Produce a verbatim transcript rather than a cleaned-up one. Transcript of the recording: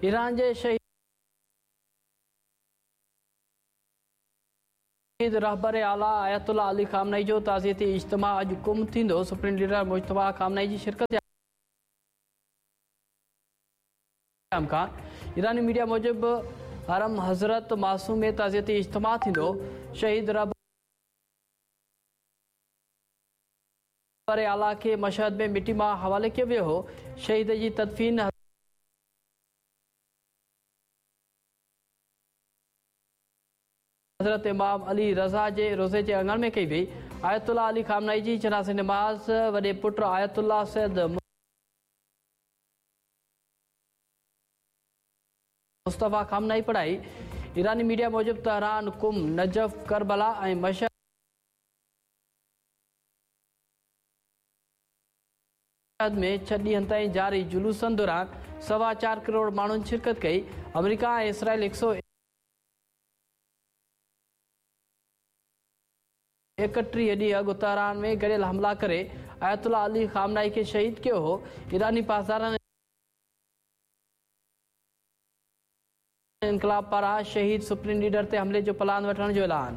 Iran جي شهيد رهبر اعليٰ آيت الله علي خامنائي جو تعزيتي اجتماع اڄ قم ٿيندو. سپريم ليڊر مجتبيٰ خامنائي جي شرڪت جا امڪان. ايراني ميڊيا موجب حرم حضرت معصوم ۾ تعزيتي اجتماع ٿيندو. شهيد رهبر اعليٰ کي مشهد ۾ مٽي ماء حوالي ڪيو ويو هو. شهيد جي تدفين حضرت امام علي رضا جي روضي جي اڱڻ ۾ ڪئي وئي. آيت الله علي خامنائي جي جنازي نماز وڏي پٽ آيت الله سيد مصطفيٰ خامنائي پڙهائي. ايراني ميڊيا موجب تهران، قم، نجف، ڪربلا ۽ مشهد ۾ ڇهه ڏينهن تائين جاري جلوسن دوران سوا چار ڪروڙ ماڻهن شرڪت ڪئي. آمريڪا ۽ اسرائيل هڪ سؤ ايڪٽيهه ڏينهن اڳ تهران ۾ گڏيل حملا ڪري آيت الله علي خامنائي کي شهيد ڪيو هو. ايراني پاسداران انقلاب پاران شهيد سپريم ليڊر تي حملي جو پلان وٺڻ جو اعلان.